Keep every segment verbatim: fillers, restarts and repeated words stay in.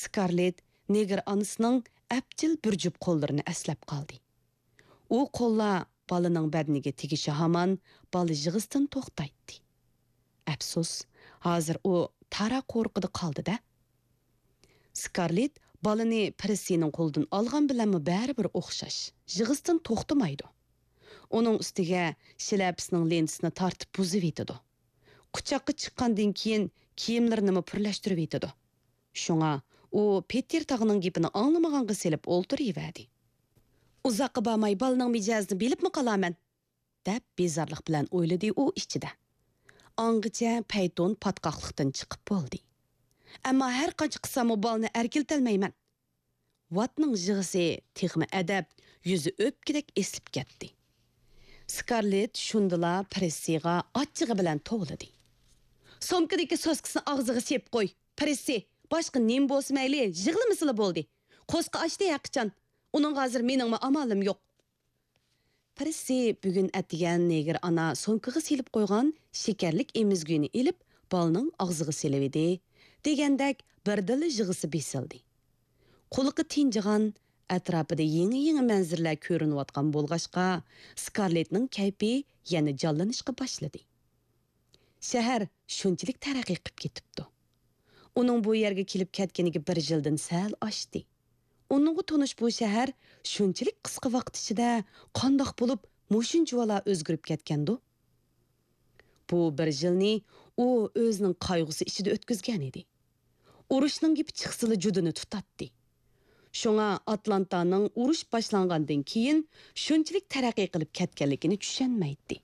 سكارلېت نېگىر ئانىسىنىڭ ئەپچىل بىر جۈپ قوللىرىنى ئەسلەپ قالدى. ئۇ قوللار بالىنىڭ بەدىنىگە تېگىشى ھامان بالا يىغىسىدىن توختايتتى. ئەپسۇس، ھازىر ئۇ تارا قورۇقىدا قالدى-دە. سكارلېت بالىنى پىرسىنىڭ قولىدىن ئالغان بىلەنمۇ بەرىبىر ئوخشاش، يىغىسىدىن توختىمايدۇ. ئۇنىڭ ئۈستىگە شىلەپىسىنىڭ لېنتىسىنى تارتىپ بۇزۇۋېتىدۇ. قۇچاققا چىققاندىن كېيىن كىيىملىرىنىمۇ پۈرلەشتۈرۈۋېتىدۇ. شۇڭا ئۇ پېتىر تاغىنىڭ گېپىنى ئاڭلىمىغانغا سېلىپ ئولتۇرۇۋەردى. ئۇزاققا بارماي بالىنىڭ مىجەزىنى بىلىپمۇ قالارمەن، دەپ بىزارلىق بىلەن ئويلىدى ئۇ ئىچىدە. ئاڭغىچە پەيتۇن پاتقاقلىقتىن چىقىپ بولدى. ئەمما ھەر قانچە قىلساممۇ بالىنى ئەركىلىتەلمەيمەن. ۋاتنىڭ يىغىسى تېخىمۇ ئەدەپ، يۈزى ئۆپكىدەك ئېسىلىپ كەتتى. سكارلېت شۇندىلا پىرسىغا ئاچچىقى بىلەن توۋلىدى. سومكىدىكى سوسكىسىنى ئاغزىغا سېلىپ قوي، پىرسى، باشقا نېمە بولسا مەيلى، يىغلىمىسىلا بولدى. قوسۇقى ئاشتى ھەقىچان. ئۇنىڭغا ھازىر مېنىڭمۇ ئامالىم يوق. پىرسى بۈگۈن ئەتىگەن نېگىر ئانا سومكىغا سېلىپ قويغان شېكەرلىك ئېمىزگۈنى ئېلىپ، بالىنىڭ ئاغزىغا سېلىۋىدى. دېگەندەك بىردىنلا يىغىسى بېسىلدى. قۇلىقى تىنجىغان، ئەتراپىدا يېڭى-يېڭى مەنزىرىلەر كۆرۈنۈۋاتقان بولغاچقا، سكارلېتنىڭ كەيپى يەنە جانلىنىشقا باشلىدى. شەھەر شۇنچىلىك تەرەققىي قىلىپ كېتىپتۇ. ئۇنىڭ بۇ يەرگە كېلىپ كەتكىنىگە بىر يىلدىن سەل ئاشتى. ئۇنىڭغا تونۇش بۇ شەھەر شۇنچىلىك قىسقا ۋاقىت ئىچىدە قانداق بولۇپ مۇشۇنچىۋالا ئۆزگىرىپ كەتكەندۇ؟ بۇ بىر يىلنى ئۇ ئۆزىنىڭ قايغۇسى ئىچىدە ئۆتكۈزگەن ئىدى. ئۇرۇشنىڭ گېپى چىقسىلا جۇدۇنى تۇتاتتى. شۇڭا ئاتلانتانىڭ ئۇرۇش باشلانغاندىن كېيىن شۇنچىلىك تەرەققىي قىلىپ كەتكەنلىكىنى چۈشەنمەيتتى.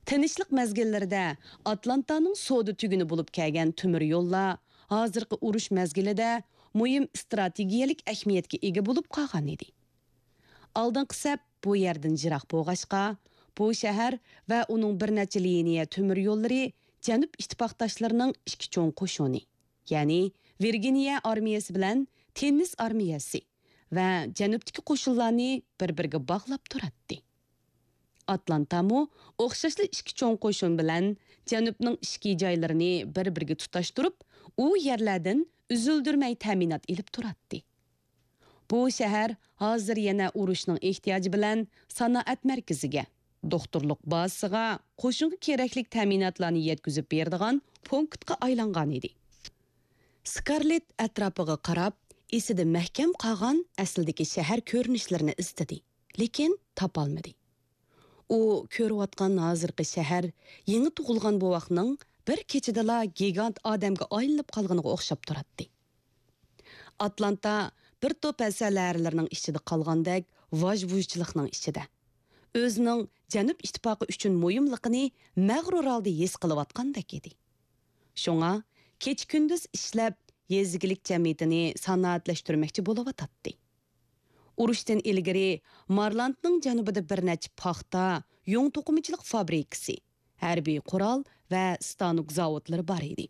تىنچلىق مەزگىللىرىدە ئاتلانتانىڭ سودا تۈگۈنى بولۇپ كەلگەن تۆمۈر يوللار ھازىرقى ئۇرۇش مەزگىلىدە مۇھىم ئىستراتېگىيەلىك ئەھمىيەتكە ئىگە بولۇپ قالغان ئىدى. ئالدىنقى سەپ بۇ يەردىن يىراق بولغاچقا، بۇ شەھەر ۋە ئۇنىڭ بىر نەچچە لىنىيە تۆمۈر يوللىرى جەنۇب ئىتتىپاقداشلىرىنىڭ ئىككى چوڭ قوشۇنى، يەنى ۋىرگىنىيە ئارمىيەسى بىلەن تېننېس ئارمىيەسى ۋە جەنۇبتىكى قوشۇنلارنى بىر-بىرىگە باغلاپ تۇراتتى. ئاتلانتامۇ ئوخشاشلا ئىككى چوڭ قوشۇن بىلەن جەنۇبنىڭ ئىچكى جايلىرىنى بىر-بىرىگە تۇتاشتۇرۇپ، ئۇ يەرلەردىن ئۈزۈلدۈرمەي تەمىنات ئېلىپ تۇراتتى. بۇ شەھەر ھازىر يەنە ئۇرۇشنىڭ ئېھتىياجى بىلەن سانائەت مەركىزىگە، دوختۇرلۇق بازىسىغا، قوشۇنغا كېرەكلىك تەمىناتلارنى يەتكۈزۈپ بېرىدىغان پونكىتقا ئايلانغان ئىدى. سكارلېت ئەتراپىغا قاراپ، ئېسىدە مەھكەم قالغان ئەسلىدىكى شەھەر كۆرۈنۈشلىرىنى ئىزدىدى، لېكىن تاپالمىدى. ئۇ كۆرۈۋاتقان ھازىرقى شەھەر يېڭى تۇغۇلغان بوۋاقنىڭ بىر كېچىدىلا گىگانت ئادەمگە ئايلىنىپ قالغىنىغا ئوخشاپ تۇراتتى. ئاتلانتا بىر توپ ھەسەل ھەرىلىرىنىڭ ئىچىدە قالغاندەك ۋاژ-ۋۇژچىلىقنىڭ ئىچىدە، ئۆزىنىڭ جەنۇب ئىتتىپاقى ئۈچۈن مۇھىملىقىنى مەغرۇر ھالدا ھېس قىلىۋاتقاندەك ئىدى. شۇڭا كېچە-كۈندۈز ئىشلەپ، يېزا ئىگىلىك جەمئىيىتىنى سانائەتلەشتۈرمەكچى بولۇۋاتاتتى. ئۇرۇشتىن ئىلگىرى مارلاندنىڭ جەنۇبىدا بىر نەچچە پاختا، يۇڭ توقۇمىچىلىق فابرىكىسى، ھەربىي قورال ۋە ستانوك زاۋۇتلىرى بار ئىدى.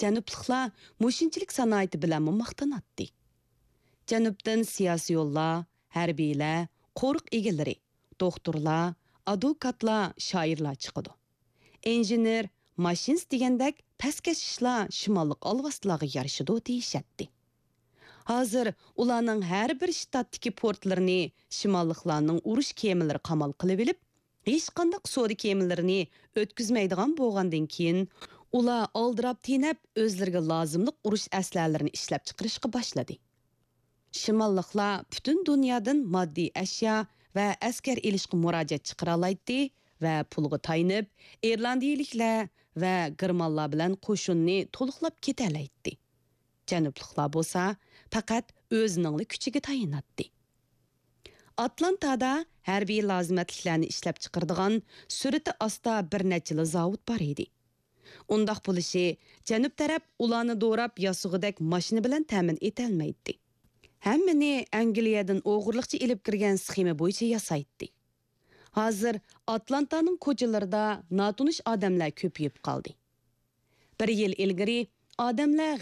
جەنۇبلۇقلار مۇشۇنچىلىك سانائىتى بىلەنمۇ ماختىناتتى. جەنۇبتىن سىياسىيونلار، ھەربىيلەر، قورۇق ئىگىلىرى، دوختۇرلار، ئادۋوكاتلار، شائىرلار چىقىدۇ. ئىنژېنېر، ماشىنىست دېگەندەك پەسكەش ئىشلار شىماللىق ئالۋاستىلارغا يارىشىدۇ دېيىشەتتى. ھازىر ئۇلارنىڭ ھەر بىر شتاتتىكى پورتلىرىنى شىماللىقلارنىڭ ئۇرۇش كېمىلىرى قامال قىلىۋېلىپ، ھېچقانداق سودا كېمىلىرىنى ئۆتكۈزمەيدىغان بولغاندىن كېيىن، ئۇلار ئالدىراپ تېنەپ، ئۆزلىرىگە لازىملىق ئۇرۇش ئەسلىھەلىرىنى ئىشلەپچىقىرىشقا باشلىدى. شىماللىقلار پۈتۈن دۇنيادىن ماددىي ئەشيا ۋە ئەسكەر ئېلىشقا مۇراجىئەت چىقىرالايتتى ۋە پۇلغا تايىنىپ، ئىرلاندىيىلىكلەر ۋە گېرمانلار بىلەن قوشۇننى تولۇقلاپ كېتەلەيتتى. جەنۇبلۇقلار بولسا پەقەت ئۆزىنىڭلا كۈچىگە تايىناتتى. ئاتلانتادا ھەربىي لازىمەتلىكلەرنى ئىشلەپچىقىرىدىغان سۈرئىتى ئاستا بىر نەچچىلا زاۋۇت بار ئىدى. ئۇنداق بولۇشى، جەنۇب تەرەپ ئۇلارنى دوراپ ياسىغۇدەك ماشىنا بىلەن تەمىن ئېتەلمەيتتى. ھەممىنى ئەنگلىيەدىن ئوغرىلىقچە ئېلىپ كىرگەن سخېما بويىچە ياسايتتى. ھازىر ئاتلانتانىڭ كوچىلىرىدا ناتونۇش ئادەملەر كۆپىيىپ قالدى. بىر يىل ئىلگىرى ئادەملەر